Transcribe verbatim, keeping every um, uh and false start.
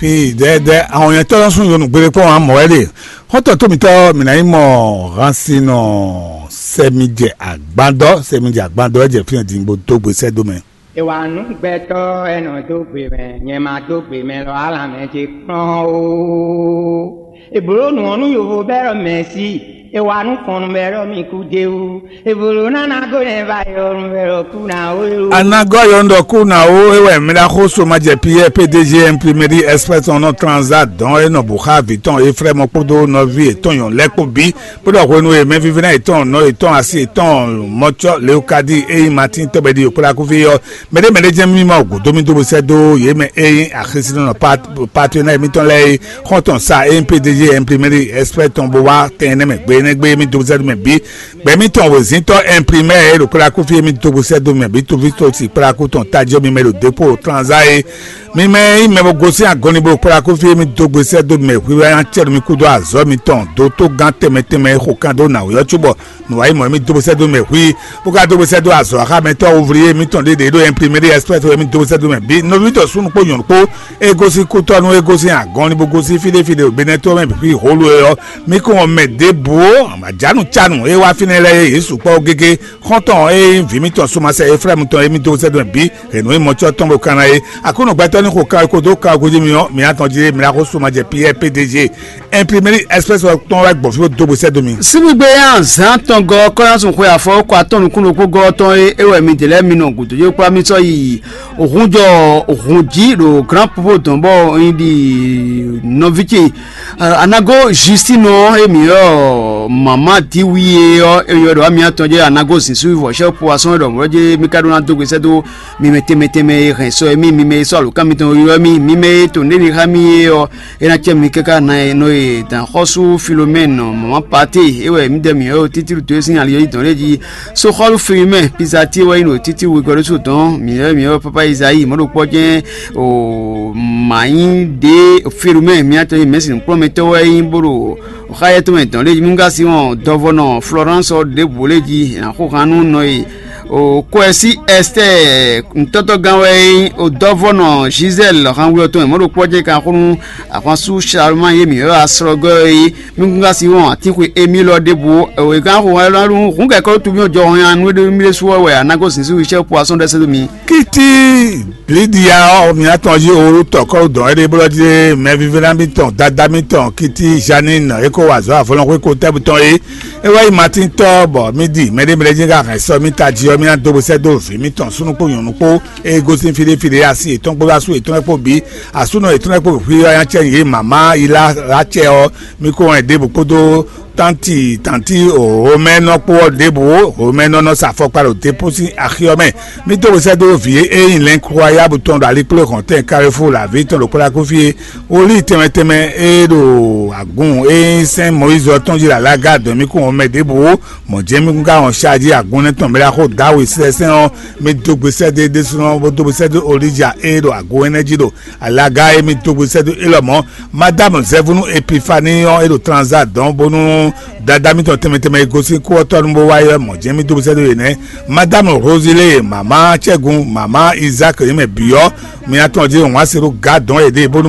Pii dɛdɛ ahɔnyɛtɔ́ lɔ sún yonu gbére kpɔ́n ǎ mɔ̌ wɛ ɖe. Xɔ́ntɔn tó mitɔ́ mǐ ná nyí mɔ hansinɔ sɛmijɛ agbadɔ, sɛmijɛ agbadɔ wɛ jɛ fínɛ́ din bó dó gbe sɛ́ dó mɛ. È wa nǔ gbɛtɔ́, è nɔ dó gbe mɛ, nyɛ ma dó gbe mɛ lɔ, alǎ mɛ ce kplɔ́n ó. È blǒ nǔ ɔ́ nú yovo bɛ́ ɖɔ mɛ̌si, è wa nú fɔnnu bɛ́ ɖɔ mi kú d'é wú. È blǒ ná ná gó nɛ́ va yɔ nú bɛ́ ɖɔ kú ná ó é wú. Anagɔ yɔ ŋɖɔ kú ná ó é wɛ mi ɖa xó so ma jɛ Piyɛ́ɛ P D G Imprimerie Express ɔ́ nɔ tranza dɔn é nɔ bǔ xá vǐ tɔn Eflɛ́mu kpódó nɔví yětɔn nyɔ̌nu lɛ́ɛ kpó bǐ. Bó ɖɔ hwenu e mɛvívínɔ yětɔn nɔ yětɔn asi yětɔn mɔcɔ Leokadi e nyí Matín tɔ́gbɛ́ ɖi yǒkplákúví ɔ́, mɛɖé mɛɖé jɛ́n mímɔ gǔdo mì dó bó sɛ́ dó yě mɛ e nyí axisínɔ patenɛ́ mitɔn lɛ́ɛ é, xɔ́ntɔn sa e nyí P D G Imprimerie Express tɔn bó wá tɛn énɛ́ mɛ gbe énɛ́ gbe mì dó bó sɛ́ dó mɛ bǐ. Gbɛ̌ mitɔn wězíntɔ́ imprimɛ́ e ɖo kplákúví e mì dó bó sɛ́ dó mɛ bǐ, toví tó si kplákú tɔn tají ɔ́, mi mɛ ɖo dépó tranzá é. Mi mɛ e nyí mɛ bo gosín agɔnni bo kplá kó fí e mì dó gbe sɛ́ dó mɛ hwíhwɛ́ ná cɛ́ nú mi kúdó azɔ̌ mitɔn dó tógán tɛnmɛ tɛnmɛ e xo kan dó nǎwe ɔ́ cóbɔ nǔwanyi mɔ̌ e mì dó gbe sɛ́ dó mɛ hwí, bó ka dó gbe sɛ́ dó azɔ̌ axámɛtɔ́ ouvliye mitɔn ɖě ɖě ɖo Imprimerie Express wɛ mì dó gbe sɛ́ dó mɛ bǐ, nɔví tɔn súnnu kpó nyɔ̌nu kpó, e gosín kútɔ́ nú e gosín agɔnni bó gosín fí ɖé fí ɖé ɖo Benɛ́ to mɛ bǐ hwíhwɛ́ holu é ɔ́, mi kún ɔ́ mɛ ɖěbǔ ó, amǎjánu cánu e wá fínɛ́ lɛ́ɛ é, yě sukpɔ́ gégé. Xɔ́ntɔn e nyí vǐ mitɔn sumasɛ Eflɛ́mu tɔn e mì dó sɛ́ dó mɛ bǐ hɛ̌nnu e mɔcɔ́ tɔn ɖo kanna é. Aklúnɔ gbɛtɔ́ ní xo kan e kó dó kan gúdo mì ɔ́, mǐ atɔn jí mi ná xo suma jɛ Piyɛ́ɛ P D G Imprimerie Express tɔn wɛ gbɔn fí bó dó bó sɛ́ dó mi. Síbígbe yá zǎn tɔn gɔ́ kɔ́yánsun xwe afɔ kó atɔ́ nukúnnú kpó gɔ́ tɔn e é wɛ midɛɛ lɛ́ɛ mi nɔ gǔdo jɛ kplá mì sɔ́ yi hǔnjɔ hǔn jí ɖo Grand Popo dɔn bɔ un yi ɖi nɔví ce Anago Justine ɔ́, émí ɔ́, mama Diwie ɔ́, é ylɔ́ ɖɔ amyɔ tɔn jɛ Anago Zisu vɔ̌ sɛ́ poasɔn ɖɔ mɔ̌ jɛ mí ka ɖó ná dó gbe sɛ́ dó mi mɛ tɛnmɛ tɛnmɛ e hɛn sɔ émí, mi mɛ e sɔ́ alǒkan mitɔn ylɔ́ mì, mi mɛ e to nǔɖé ɖi xá mì é ɔ́, é ná cɛ mi káká na e nɔ e dǎn xɔ́sú Filomɛ́nu mama Pate é wɛ mǐdɛɛ mǐ ɔ́ Títílu dó sín ali ɔ́ yi dɔn lé jí. Soxɔ́lu Filimɛ́ Pizati wɛ nyí ɖo Títílu wegɔ́ ɖésú dɔn mǐ ɔ́, mǐ ɔ́ pápá Izayi mɔ̌ ɖo kpɔ́ jɛ́n o mǎ nyí ɖě Filomɛ́ mǐtɔn e mɛ̌si nǔkplɔ́nmɛtɔ́ wɛ nyí bó ɖo xáyɛ́ tɔn mɛ dɔn lé jí. Mí ka sí wɔn dɔvɔnɔ Florence ɔ́ ɖěbǔ lé jí ná xó han nú nɔ e o Kɔɛsí Ɛstɛ́ɛ nǔtɔ́tɔ́gán wɛ nyí o dɔvɔnɔ Gisèle hanwlɔ tɔn e mɔ̌ ɖo kpɔ́ jɛ́n kan xó nú ahwansu Charlemagne e mǐ ylɔ́ aslɔ́gɔ́ é. Mí kún ka sí wɔn atínxwe émí lɔ ɖěbǔ o. È gán xo hɔn élɔ́ ɖu hǔn kɛkɔ́ tún mì jɔ hɔn nú éɖé mí ɖésú ɔ́ wɛ a nǎ gosín sín wíṣẹ́ po asɔ́n ɖɛ́ sɛ́ dó mi. Kiti Lidia ɔ́, mǐ atɔn jí oolú tɔkɔ́ dɔn éɖée blɔ́ jí mɛvívɛ́ná mitɔn, dadá mitɔn Kiti Janine e ko wa azɔ̌ avɔlɔnxwé ko tɛ́bú tɔn é. É wá yi Matín tɔ́ bɔ mí di mɛɖé mɛɖé jí ka hɛn sɔ mì tají ɔ́, mì ná dó bó sɛ́ dó vǐ mitɔn súnnu kpó nyɔ̌nu kpó e gosín fí ɖé fí ɖé así yětɔn kpó asú yětɔn kpó bǐ, asúnɔ yětɔn kpó bǐ xwí ɔ́, nya cɛ yě mama yi lá lá cɛ ɔ́, mì kó wɛn ɖěbǔ kpódó tánti tánti Romɛ́nɔ kpó ɔ́ ɖěbǔ. Romɛ́nɔ nɔ sa afɔkpa ɖo Depósi axi ɔ́ mɛ. Mì dó wesɛ́ dó vǐ e nyí lɛ̌nkuxɔyábu tɔn ɖo alikpléhɔ̌ntɛn Kalifúu laví tɔn ɖo Kplákúfí é. Wǒlí tɛnmɛ tɛnmɛ e ɖo agun e nyí sɛ́n Mɔyízi ɔ́ tɔn jí ɖo alága dɔn mì kún wɔn mɛ ɖěbǔ ó. Mɔ̌ jɛ́n mì kún ka wɔn sají agun énɛ́ tɔn mɛ ɖaxó Dawǐ sɛsɛn ɔ́, mì dó gbe sɛ́ dó é ɖésúnɔ bó dó gbe sɛ́ dó Olíja e ɖo agun énɛ́ jí ɖo alaga e mì dó gbe sɛ́ dó é lɔmɔ̌. Madámu Zɛvunu Epifani ɔ́, é ɖo tranzá dɔn bónú dadá mitɔn tɛnmɛ tɛnmɛ e gosín kú ɔ́ tɔ́ nú bó wá yi ɔ́, mɔ̌ jɛ́n mì dó gbe sɛ́ dó yě nɛ́. Madámu Rozilée, mama Cɛ́gun, mama Izáki yě mɛ bǐ ɔ́, mi atɔn jí wǎn se ɖó gǎ dɔn yěɖée bónú